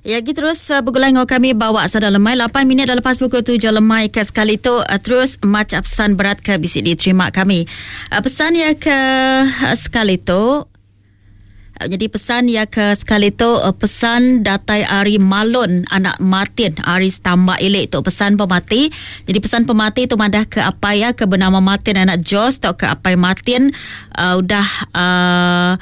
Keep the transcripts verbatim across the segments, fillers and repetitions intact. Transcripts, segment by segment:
Ya, kita terus uh, bergulai dengan kami bawa sada lemai lapan minit dah lepas pukul tujuh lemai ke sekali tu uh, terus macam pesan berat ke bisi diterima kami. Uh, pesan ya ke uh, sekali tu uh, jadi pesan ya ke sekali tu uh, pesan datai ari Malon anak Martin ari Stambak Ilik tu pesan pemati. Jadi pesan pemati tu madah ke apa ya ke bernama Martin anak Jos atau ke apai Martin uh, udah uh,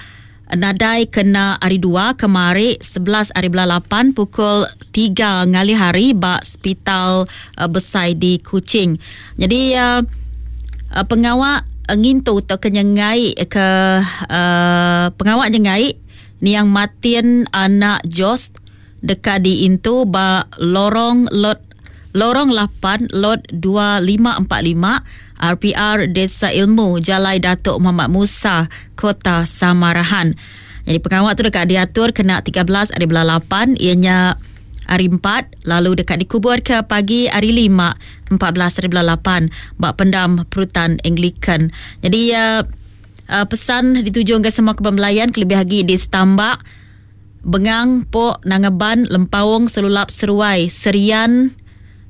nadai kena hari dua kemari sebelas hari bulan lapan pukul tiga ngalih hari ba hospital uh, besai di Kuching. Jadi uh, uh, pengawak uh, ngintu atau kenyengai ke uh, pengawak nyengai niang Martin anak Jos dekat di intu ba lorong lot lorong lapan lot dua lima empat lima R P R Desa Ilmu Jalai Datuk Muhammad Musa Kota Samarahan. Jadi pengawal tu dekat diatur kena tiga belas hari bulan lapan ianya hari empat lalu dekat dikubur ke pagi hari lima empat belas hari bulan lapan bak pendam Perutan Anglican. Jadi uh, uh, pesan dituju ke semua kebembelayan kelebih lagi di Stambak, Bengang, Pok, Nangaban, Lempaung, Selulap, Seruai, Serian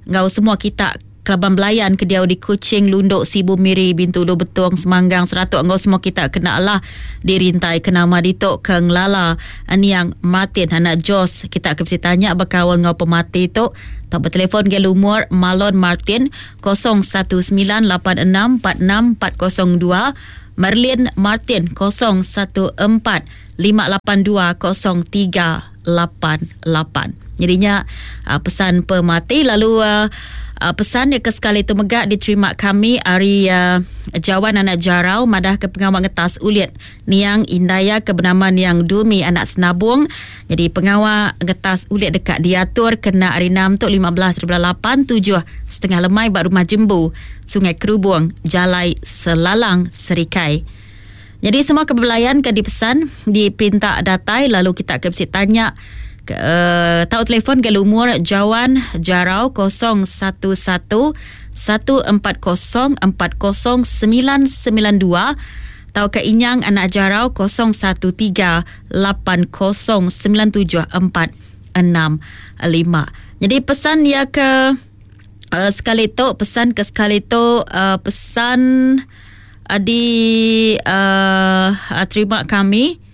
ngau semua kita Kelaban Belayan ke diau di Kuching, Lundok, Sibu, Miri, Bintulu, Betong, Semanggang, Seratuk ngau semua kita kena lah dirintai ke nama ditok ke ngelala niang Martin anak Jos. Kita akan mesti tanya berkawal ngau pemati tu. Tak bertelefon ke lumur Malon Martin kosong satu sembilan lapan enam empat enam empat kosong dua, Merlin Martin kosong satu empat lima lapan dua kosong tiga lapan lapan. Jadinya uh, pesan pemati lalu uh, uh, pesan yang ke sekali itu megak diterima kami hari uh, Jawan anak Jarau madah ke pengawal ngetas ulit niang Indaya ke bernama niang Dumi anak Senabung. Jadi pengawal ngetas ulit dekat diatur kena hari enam tu lima belas hari bulan lapan tujuh setengah lemai bak rumah Jembu Sungai Kerubung Jalai Selalang Serikai. Jadi semua kebelayan ke dipesan dipinta datai lalu kita ke mesti tanya ke, uh, tahu telefon ke lumur Jawan Jarau kosong satu satu satu empat kosong empat kosong sembilan sembilan dua atau ke Inyang anak Jarau kosong satu tiga lapan kosong sembilan tujuh empat enam lima. Jadi pesan ya ke, uh, sekali tu pesan ke sekali tu, uh, pesan uh, di, uh, terima kami.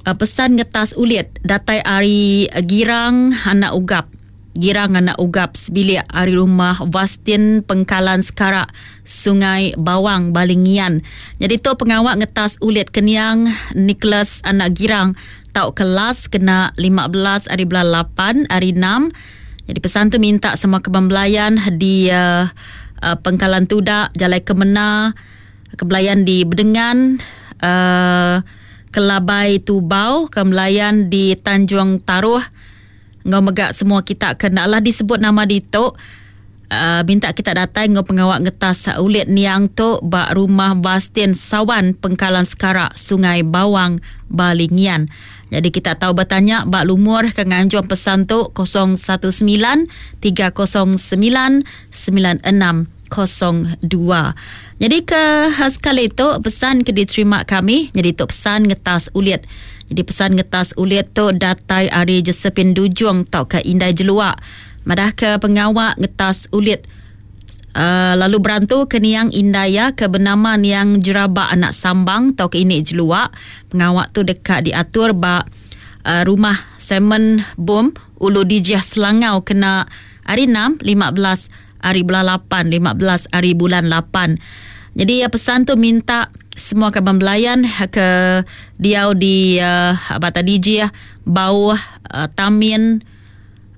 Uh, pesan ngetas ulit datai ari Girang anak Ugap. Girang anak Ugap sebilik ari rumah Vastin Pengkalan Sekarak Sungai Bawang Balingian. Jadi tu pengawak ngetas ulit keniang Nicholas anak Girang tau kelas kena lima belas hari bulan lapan hari enam. Jadi pesan tu minta semua kebembelayan di uh, uh, Pengkalan Tudak, Jalai Kemena, kebelayan di Bedengan, uh, Kelabai Tubau, kembelayan di Tanjung Taruh. Ngau megak semua kita kena lah disebut nama ditok. Uh, minta kita datang ngau pengawak ngetas ulit niang tu bak rumah Bastin Sawan Pengkalan Sekarak Sungai Bawang Balingian. Jadi kita tahu bertanya bak lumur ke nganjung pesan tu kosong satu sembilan tiga kosong sembilan sembilan enam kosong dua. Jadi ke sekali tu pesan ke diterima kami. Jadi tu pesan ngetas ulit. Jadi pesan ngetas ulit tu datai ari Josephine Dujung tau ke Indai Jeluak. Madah ke pengawak ngetas ulit. Uh, lalu berantu ke niang Indaya ke bernama niang Jerabak anak Sambang tau ke ini Jeluak. Pengawak tu dekat diatur ba uh, rumah Simon Bom Ulu Dijah Selangau kena hari enam lima belas hari bulan lapan, lima belas hari bulan lapan. Jadi ya, pesan tu minta semua kaban belayan ke diau di uh, Bata Dijih, Bauh, uh, Tamin,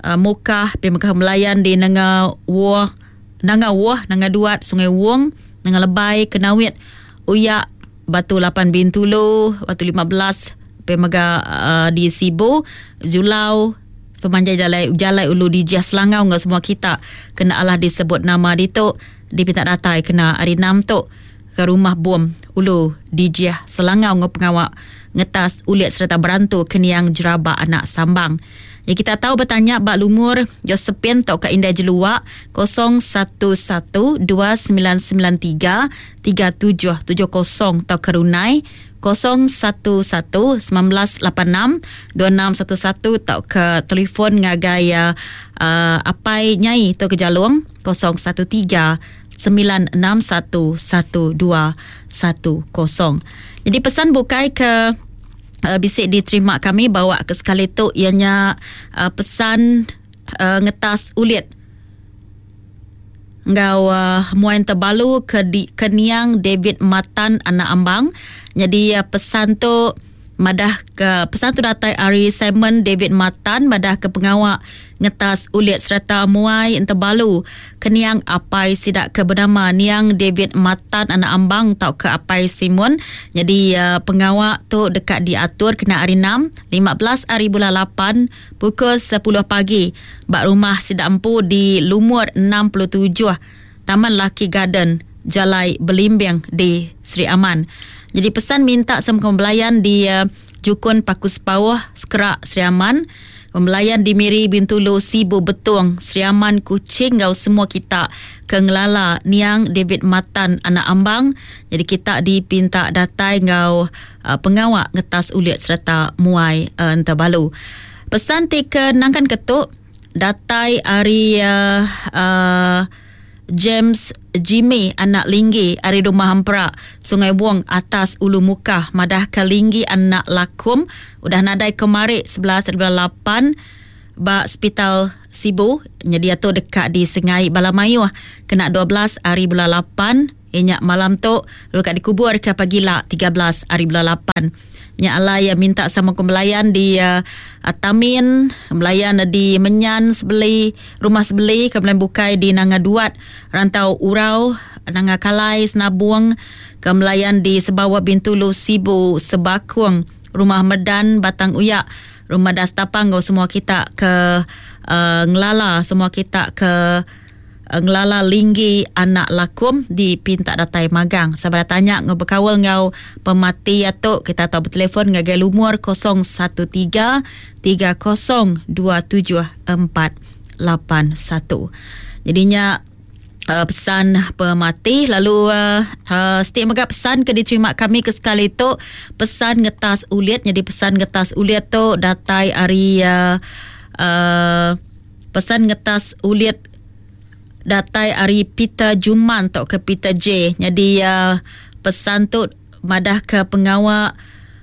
uh, Mukah, Pemekah Melayan di Nanga Wah, Nanga Wah, Nanga Duat, Sungai Wong, Nanga Lebai, Kenawit, Uyak, Batu lapan Bintulu, Batu lima belas, Pemega uh, di Sibu, Julau, sepanjang jalai, jalai Ulu Dijah Selangau ngau semua kita kena Allah disebut nama ditu dipinta datai kena hari enam tu ke rumah bom ulu Dijih Selangau ngau pengawa ngetas ulit serta berantu keniang jeraba anak sambang. Ya, kita tahu bertanya bak lumur Josephine atau ke Indai Jelua kosong satu satu dua sembilan sembilan tiga tiga tujuh tujuh kosong atau ke Runai kosong satu satu sembilan lapan enam dua enam satu satu atau ke telefon ngagai uh, uh, apai nyai atau ke Jalung kosong satu tiga sembilan enam satu satu dua satu kosong. Jadi pesan bukai ke Uh, bisik diterima kami bawa ke sekali tu ianya uh, pesan uh, ngetas ulit ngau uh, muain terbalu ke di, ke niang David Matan anak Ambang. Jadi uh, pesan tu madah ke pesan tu datai ari Simon David Matan madah ke pengawak ngetas ulit serta muai entebalu keniang apai sidak ke bernama niang David Matan anak Ambang tau ke apai Simon. Jadi uh, pengawak tu dekat diatur kena hari enam lima belas hari bulan lapan pukul sepuluh pagi bak rumah sidak empu di Lumur enam puluh tujuh Taman Laki Garden Jalai Belimbing di Sri Aman. Jadi pesan minta semua pembelayan di uh, Jukun Paku Sepauh, Sekerak, Sri Aman, pembelayan di Miri, Bintulu, Sibu, Betung, Sri Aman, Kuching, ngau semua kita ke ngelala niang David Matan anak Ambang. Jadi kita dipinta datai ngau uh, pengawak ngetas ulit serta muai uh, entebalu. Pesan ti ke nangkan ketuk datai ari uh, uh, James Jimmy anak Linggi ari rumah Hampra Sungai Wong atas Ulu Mukah madah ke Linggi anak Lakum udah nadai kemari sebelas bulan lapan ba Hospital Sibu. Jadi tu dekat di Sengai Balamayuh kena dua belas hari bulan lapan inyak malam tu dekat dikubur ke pagila tiga belas hari bulan lapan. Nyak alai ya minta sama kembelayan di uh, Tamin, kembelayan di Menyan sebeli, rumah sebeli, kembelayan bukai di Nanga Duat, Rantau Urau, Nanga Kalai, Senabung, kembelayan di Sebawa Bintulu, Sibu, Sebakung, rumah Medan, Batang Uyak, rumah Dastapang, semua kita ke uh, Ngelala, semua kita ke Ngelala Linggi anak Lakum di Pintak Datai Magang. Sabar tanya ngau berkawal ngau pemati atuk kita tahu bertelefon ngagai lumur kosong satu tiga tiga kosong dua tujuh empat lapan satu. Jadinya uh, pesan pemati lalu uh, uh, setiap megap pesan ke diterima kami ke sekali tu pesan ngetas ulit. Jadi pesan ngetas ulit tu datai ari uh, uh, pesan ngetas ulit datai ari Peter Juman atau ke Peter J. Jadi uh, pesan tu madah ke pengawak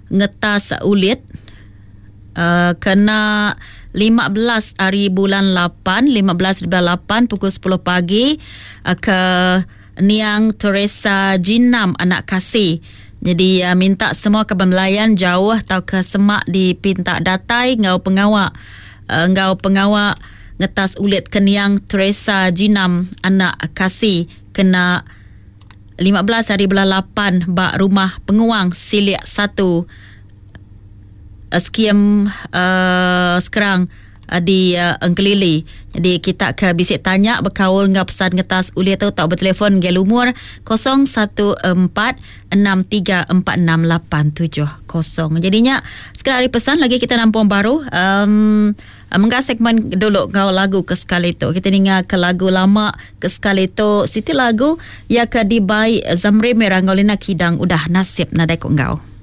ngetas ulit uh, kena lima belas hari bulan lapan, lima belas bulan lapan pukul sepuluh pagi uh, ke Niang Teresa Jinam anak Kasih. Jadi uh, minta semua kebembelayan jauh atau ke semak di Pintak Datai ngau pengawak uh, ngau pengawak ngetas ulit keniang Teresa Jinam anak Kasih kena lima belas hari bulan lapan bak rumah penguang Silik satu skim uh, sekarang uh, di uh, Engkelili. Jadi kita ke bisik tanya berkaul ngau pesan ngetas ulit tu tak bertelefon ge lumur kosong satu empat enam tiga empat enam lapan tujuh kosong. Jadinya sekali hari pesan lagi kita nampung baru um, menggah segmen dulu ngau lagu ke sekali tu. Kita dengar ke lagu lama ke sekali tu siti lagu ya ke dibai Zamri Merah ngau Lina Kidang udah nasib nadai ko ngau.